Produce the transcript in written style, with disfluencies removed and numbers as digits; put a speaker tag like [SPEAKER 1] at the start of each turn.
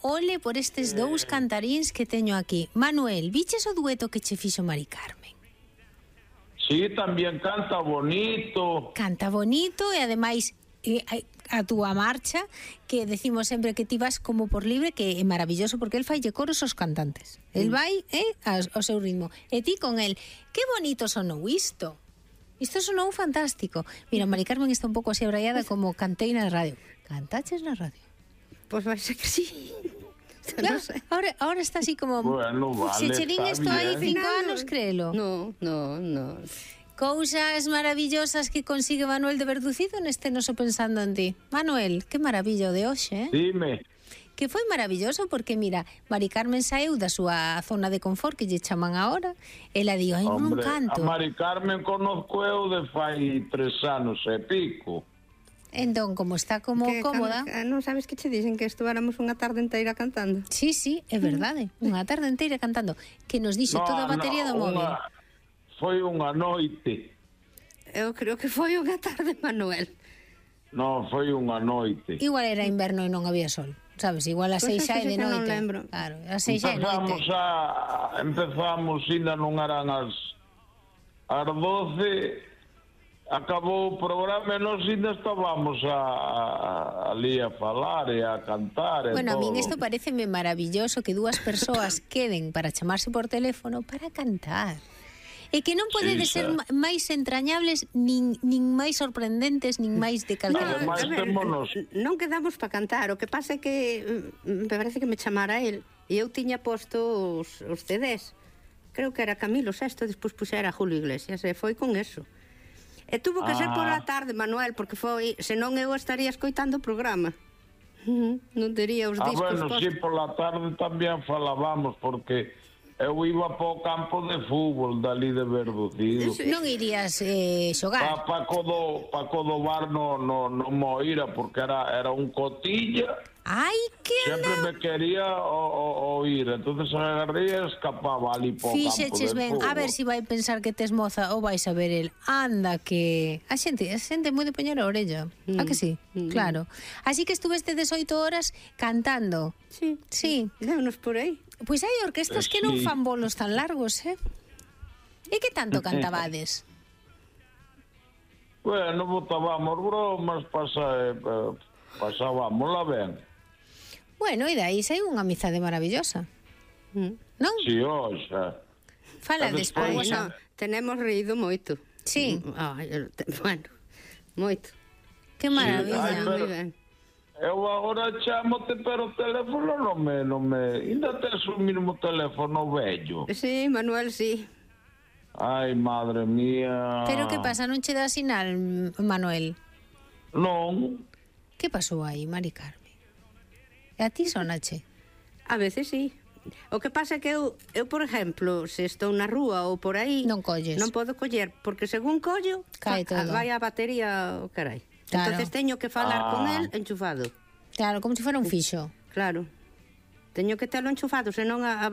[SPEAKER 1] ole por estes dous cantaríns que teño aquí. Manuel, viches o dueto que che fixo Mari Carmen?
[SPEAKER 2] Sí, tamén canta bonito.
[SPEAKER 1] Canta bonito e ademais a túa marcha, que decimos sempre que ti vas como por libre, que é maravilloso porque el faille coros aos cantantes. El vai ao seu ritmo. E ti con el. Que bonito sonou isto. Isto sonou fantástico. Mira, Mari Carmen está un pouco así abraiada como cantei na radio. Cantaches na radio?
[SPEAKER 3] Pois vai ser que sí.
[SPEAKER 1] Claro, ahora está así como...
[SPEAKER 2] Bueno, vale,
[SPEAKER 1] se che din
[SPEAKER 2] está
[SPEAKER 1] isto hai
[SPEAKER 2] bien.
[SPEAKER 1] 5 anos, créelo.
[SPEAKER 3] No.
[SPEAKER 1] Cousas maravillosas que consigue Manuel de Verducido neste noso pensando en ti. Manuel, que maravilla o de hoxe,
[SPEAKER 2] Dime.
[SPEAKER 1] Que foi maravilloso porque, mira, Mari Carmen saeu da súa zona de confort que lle chaman agora. Ela di, ai, non canto.
[SPEAKER 2] A Mari Carmen conozco eu de fai 3 anos e pico.
[SPEAKER 1] Entón, como está como cómoda...
[SPEAKER 3] Non sabes que che dixen que estuvéramos unha tarde inteira cantando?
[SPEAKER 1] Sí, é verdade. Unha tarde inteira cantando. Que nos dixo toda a batería do móvil.
[SPEAKER 2] Foi unha noite.
[SPEAKER 3] Eu creo que foi unha tarde, Manuel.
[SPEAKER 2] Non, foi unha noite.
[SPEAKER 1] Igual era inverno e non había sol. Sabes, igual a 6 xa é de noite.
[SPEAKER 3] Non lembro.
[SPEAKER 1] Claro, a 6 xa é noite.
[SPEAKER 2] Empezamos, ainda non eran as 12... Acabou o programa e nós ainda estábamos ali a falar e a cantar e
[SPEAKER 1] bueno,
[SPEAKER 2] todo.
[SPEAKER 1] A min isto pareceme maravilloso que dúas persoas queden para chamarse por teléfono para cantar. E que non podedes ser máis entrañables, nin máis sorprendentes, nin máis de calquera.
[SPEAKER 3] Non quedamos para cantar. O que pasa é que me parece que me chamara el e eu tiña posto os CDs. Creo que era Camilo VI, despois puxera a Julio Iglesias e foi con eso. E tuvo que ser pola tarde, Manuel, porque foi, senón eu estaría escoitando o programa. Non tería os discos
[SPEAKER 2] postos. Sí, pola tarde tamén falábamos, porque eu iba para o campo de fútbol dali de Verducido.
[SPEAKER 1] Non irías xogar?
[SPEAKER 2] Paco do Bar no Moira, porque era un cotilla.
[SPEAKER 1] Ai, que
[SPEAKER 2] sempre me quería oír, entonces agarré e escapaba ali po campo de fútbol.
[SPEAKER 1] Fixeches ben, a ver si vai pensar que tes moza ou vais a ver el. Anda que... A xente moi de poñer a orella. A que sí? Claro. Así que estuveste 18 horas cantando.
[SPEAKER 3] Sí. Déunos por aí.
[SPEAKER 1] Pois hai orquestas que non fan bolos tan largos, E que tanto cantabades?
[SPEAKER 2] Bueno, botábamos bromas, pasábamosla ben.
[SPEAKER 1] Bueno, e dai sai unha amizade maravillosa. Non?
[SPEAKER 2] Si, oxa.
[SPEAKER 1] Fala despois.
[SPEAKER 3] Tenemos reído moito.
[SPEAKER 1] Sí.
[SPEAKER 3] Bueno, moito.
[SPEAKER 1] Que maravilla.
[SPEAKER 3] Moi ben.
[SPEAKER 2] Eu agora chamote, pero o teléfono non me... Ainda tes o mismo teléfono vello.
[SPEAKER 3] Sí, Manuel, sí.
[SPEAKER 2] Ai, madre mía.
[SPEAKER 1] Pero que pasa, non che dá sinal, Manuel?
[SPEAKER 2] Non.
[SPEAKER 1] Que pasou aí, Mari Carmen? E a ti sonache?
[SPEAKER 3] A veces sí. O que pasa é que eu, por exemplo, se estou na rúa ou por aí,
[SPEAKER 1] non colles.
[SPEAKER 3] Non podo coller, porque según collo, vai a batería o carai. Claro. Entonces teño que falar con el enchufado.
[SPEAKER 1] Claro, como se fora un fixo.
[SPEAKER 3] Claro. Teño que telo enchufado, senón a